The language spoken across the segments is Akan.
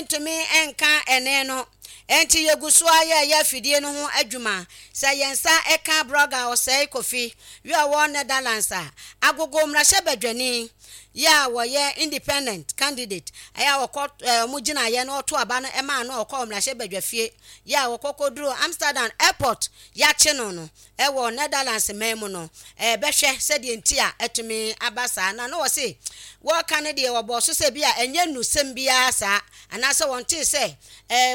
Ntumi nka ɛnne no. Enti yɛgu so ara yɛreyɛ afidie no ho adwuma. Sɛ yɛn nsa ka Brɔga Osei Kofi yi a ɔwɔ Netherlands a, agogo mmarahyɛbadwani yi a wɔyɛ independent candidate a wɔkɔ wɔn gyinaeɛ na wɔto aba no maa no a ɔkɔɔ mmarahyɛbadwafie yi a wɔkɔ kɔduruu Amsterdam airport yɛakye no no, wɔ Netherlands man mu no, bɛhwɛ sɛdeɛ nti a atumi aba saa. Na na wɔse wɔreka no deɛ wɔbɔɔ so sɛ bi a ɛnyɛ nnusɛm biara saa, anaasɛ wɔntee sɛ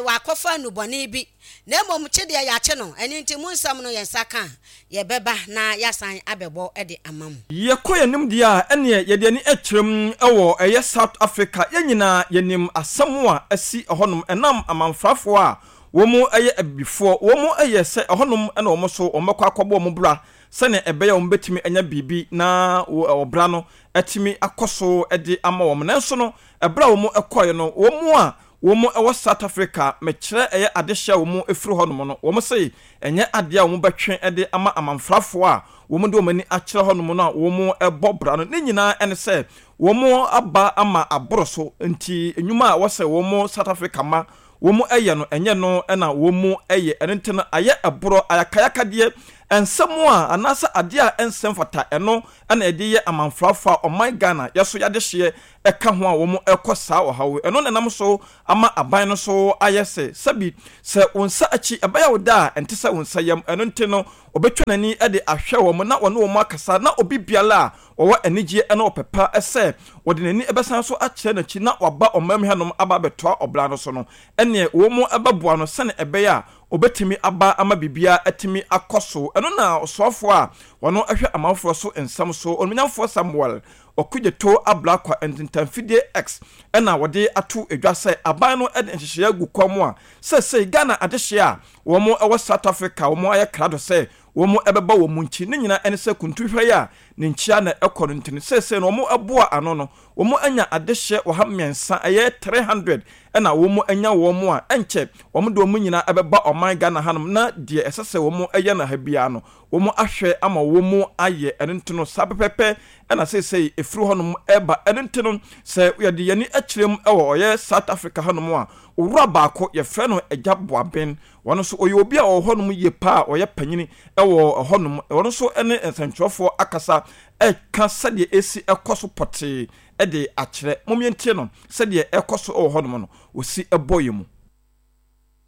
wɔakɔfa nnubɔne bi, na mmom kye deɛ yɛakye no, ɛno nti mo nsɛm no yɛn nsa ka a, yɛbɛba na yɛasan abɛbɔ de ama mo. Yɛkɔ yɛn anim deɛ a, ɛneɛ yɛde ani kyerɛ mu wɔ ɛyɛ South Africa, yɛn nyinaa yɛnim asɛm a asi ɛhɔnom ɛnam amanfrafoɔ a Wɔyɛ abibifoɔ, wɔyɛ sɛ ɛhɔnom na wɔn nso wɔbɛkɔ akɔbɔ wɔn bra sɛdeɛ ɛbɛyɛ a wɔbɛtumi anya biribi na ɔbra no atumi akɔ so de ama wɔn. Nanso no, ɛberɛ a wɔkɔeɛ no, wɔn a wɔwɔ South Africa, mekyerɛ ɛyɛ adehyeɛ a wɔfiri hɔnom no, wɔse ɛnyɛ adeɛ a wɔbɛtwe de ama amanfrafoɔ a wɔde wɔn ani akyerɛ hɔnom no a wɔbɔ bra no. Ne nyinaa ne sɛ wɔaba ama aboro so nti nnwuma a ɛwɔ sɛ wɔn South Africa ma wɔn yɛ no, ɛnyɛ no na wɔn yɛ, ɛno nti no ayɛ ɛborɔ, ayakayakadeɛ, nsɛm a anaasɛ adeɛ a ɛnsɛ mfata, ɛno na yɛde yɛ amanfrafoɔ a ɔman Ghana yɛso yɛadehyeɛ ɛka ho a wɔn ɛkɔ saa ɔhaw yi, ɛno na ɛnam so ama aban no so ayɛ sɛ sɛbi sɛ wo nsa akyi ɛbɛyɛ wo dɛ a ɛnte sɛ wo nsa yam, ɛno nti no ɔbɛtwa n'ani de ahwɛ wɔn na ɔne wɔn akasa na obi biara a ɔwɔ anigyeɛ ne ɔpɛ pa sɛ ɔde n'ani bɛsan so akyerɛ n'akyi na waba ɔman mu hanom aba abɛtoa ɔbra no so no, ɛnneɛ wɔbɛboa no sɛdeɛ ɛbɛyɛ a ɔbɛtumi aba ama biribiara atumi akɔ so. Ɛno na ɔsoafoɔ a ɔno hwɛ amanfoɔ so nsɛm so, Onimuonyamfoɔ Samuel Okudzeto Ablakwa Ntentanfidie X na wɔde ato dwa sɛ aban no de nhyehyɛeɛ agu kwan mu a seesei Ghana adehyeɛ a wɔn wɔ South Africa a wɔayɛ krado sɛ wɔbɛba wɔn nkyi. Ne nyinaa ne sɛ kuntuhwɛ yi a ne nkyia na ɛkɔ no nti no, seesei no wɔboa ano no, wɔanya adehyeɛ 300, ɛyɛ 300 na wɔanya wɔn a ɛnkyɛ wɔde wɔn nyinaa bɛba ɔman Ghana hanom na deɛ ɛsɛ sɛ wɔyɛ no ha biara no, wɔahwɛ ama wɔayɛ. Ɛno nti no, saa pɛpɛpɛ na seesei ɛfiri hɔnom reba. Ɛno nti no, sɛ yɛde yɛn ani kyerɛ mu wɔ ɔyɛ South Africa hanom a, owura baako, yɛfrɛ no Agya Boaben, Ɔno nso ɔyɛ obi a ɔwɔ hɔnom yie paa a ɔyɛ panyini wɔ hɔnom. Ɔno nso ne nsɛntwerɛfoɔ akasa reka sɛdeɛ ɛsi kɔ so pɔtee de akyerɛ. Mom yɛntie no sɛdeɛ ɛkɔ so wɔ hɔnom no, ɔsi bɔ yɛn mu.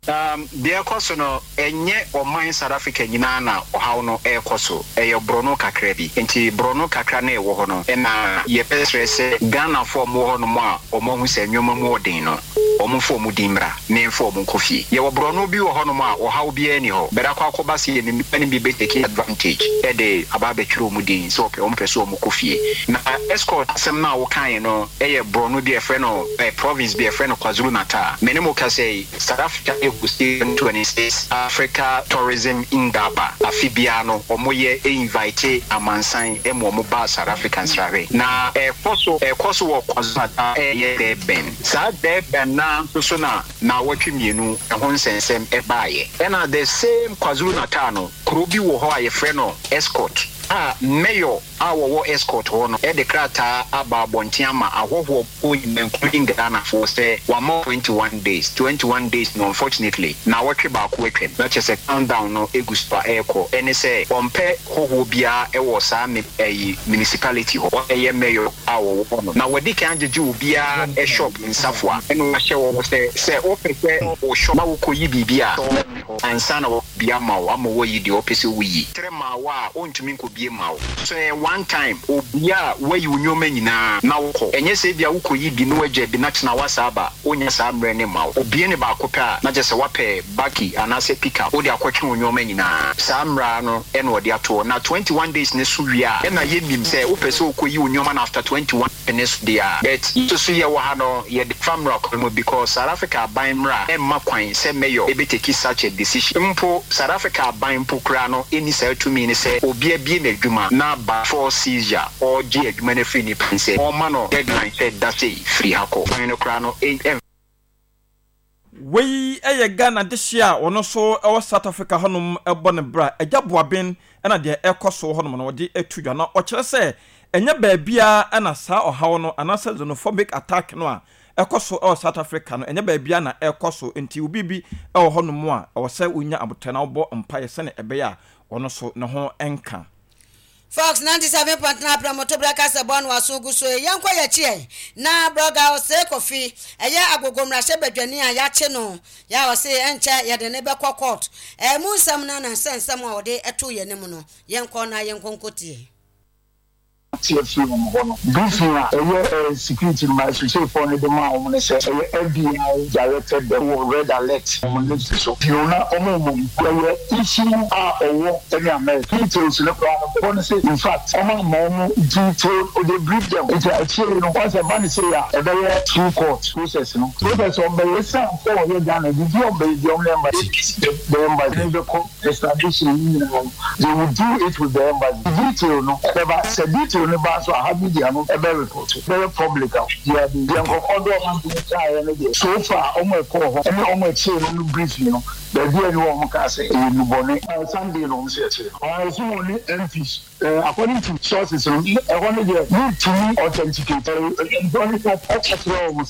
Um, deɛ ɛrekɔ so no, ɛnyɛ ɔman South Africa nyinaa na ɔhaw no ɛrekɔ so. Ɛyɛ borɔno kakra bi. Nti borɔno kakra no a ɛwɔ hɔ no, ɛna yɛbɛsrɛ sɛ Ghanafoɔ a wɔwɔ hɔnom a wɔahu sɛ nneɛma mu ɔden no, wɔmfa wɔn din mmra na yɛmfa wɔn nkɔ fie. Yɛwɔ borɔno bi wɔ hɔnom a ɔhaw biara nni hɔ, but akɔ akɔba sɛ yɛn nnipa no bi bɛ take advantage de aba abɛtwerɛ wɔn din sɛ wɔpɛ wɔpɛ sɛ wɔkɔ fie. Na escort asɛm no a wokaeɛ no yɛ borɔno bi a yɛfrɛ no province bi a yɛfrɛ no Kwazulu Natal. Me ne mo kasa yi, South Africa hosti 2026 Africa Tourism Indaba afe biara no wɔyɛ invite amansan ma wɔn ba South Africa nsrahwɛ. Na ɛkɔ so ɛkɔ so wɔ Kwazulu Natal ɛyɛ Durban. Saa Durban no ara nso so na naawɔtwe mmienu ɛho nsɛnsɛm ɛbaeɛ. Ɛna the same Kwazulu Natal no kuro bi wɔ hɔ a yɛfrɛ no Estcourt a Mayor a wɔwɔ Estcourt hɔ no de krataa aba abɔnten ama ahɔhoɔ mpo nyinaa including Ghanafoɔ sɛ wɔama 21 days, 21 days no unfortunately naawɔtwe baako atwam na kyerɛ sɛ countdown no gu so a ɛrekɔ ɛne sɛ wɔmpɛ hɔhoɔ biara wɔ saa me ɛyi municipality hɔ ɛyɛ mayor a wɔwɔ hɔ no na wɔadi kan agyegye obiara shop nsafoa ɛna wɔahyɛ wɔn sɛ sɛ wopɛ sɛ wo shop na wokɔyi biribi a ansa na wɔabue ama wo ama woayi deɛ wopɛ sɛ woyi. Kyerɛ ma wo a ɔntumi nkɔbue mma wo. So ɛyɛ one time obue a woayi wo nnoɔma nyinaa na wokɔ. Ɛnyɛ sɛ ebia wokɔyi bi na woagya bi na kyena woasan aba, ɔnnya saa mmerɛ no mma wo. Obue no baako pɛ a na kyerɛ sɛ woapɛ bakkie anaasɛ pick up wode akɔtwe wo nnoɔma nyinaa. Saa mmara no na wɔde ato hɔ. Na 21 days no so wie a ɛna yɛnim sɛ wopɛ sɛ wokɔyi wo nnoɔma no after 21 ne so deɛ a, but yɛn nso yɛwɔ ha no yɛde fa mmara kwan mu because South Africa aban mmara mma kwan sɛ mayor bɛ take such a decision. Mpo South Africa aban mpo koraa no nni saa tumi no sɛ obi abue n'adwuma na by force seizure ɔregye adwuma no afiri nipa nsam, ɔrema no deadline sɛ da sei firi ha kɔ. Kwan no koraa no ɛmfa. Wei yɛ Ghana dehyeɛ a ɔno nso wɔ South Africa hɔnom bɔ ne bra. Agya Boaben na deɛ ɛrekɔ so wɔ hɔnom no ɔde to dwa. Na ɔkyerɛ sɛ ɛnyɛ baabiara na saa ɔhaw no anaasɛ xenophobic attack no a. ɛkɔ so wɔ South Africa no, ɛnyɛ baabiara na ɛrekɔ so. Enti wo biribi wɔ hɔnom a, ɛwɔ sɛ wonya aboterɛ na wobɔ mpaeɛ sɛdeɛ ɛbɛyɛ a ɔno nso ne ho nka. Fox 97.9 Prɛmotoberɛ kasɛbɔ no aso gu so yi, yɛnkɔ yɛakyi ɛ na Brɔga Osei Kofi, ɛyɛ Agogo mmarahyɛbadwani a yɛakye no yɛ a ɔse ɛnkyɛ yɛde no bɛkɔ court. Ɛmu nsɛm no na sɛ nsɛm a ɔde too yɛn anim no, yɛnkɔ na yɛnkɔ nkɔtie. Te afiri wɔn hɔ no. Briefing a ɛyɛ security no ma asuhyefoɔ no de maa wɔn ne sɛ ɛyɛ FBI directed them wɔ red alert wɔn list so. Bio na wɔn mmom ɛyɛ issue a ɔwɔ ne America details no koraa no bɔ no sɛ infact wɔn amma wɔn detailed they brief them nti akyire yi no wɔn sɛ ɛba no sei a ɛbɛyɛ through court process no process wɔn bɛyɛ ɛsiane sɛ wɔyɛ Ghana biribi a wɔn bɛyɛ biara wɔn ne embassy the embassy no bɛkɔ Extradition yi nyinaa no they will do it with the embassy detail no ɛbɛba sɛ detail no ba nso a ha media no ɛbɛ report ɛbɛyɛ public a obiara bɛhu deɛ nkorɔfoɔ de wɔn adwene kaeɛ no deɛ so far wɔn a ɛkɔɔ hɔ ɛne wɔn a ɛkyee no no briefing no baabi a ɛni hɔ a wɔn kaa sɛ ɛyɛ nnubɔne. Sunday na wɔn sɛ ɛkyee no. Ɛso wɔn ne MPs according to sources no ɛhɔ no deɛ mentumi authenticate ɛɛ mpo ne ka kyerɛ wɔn.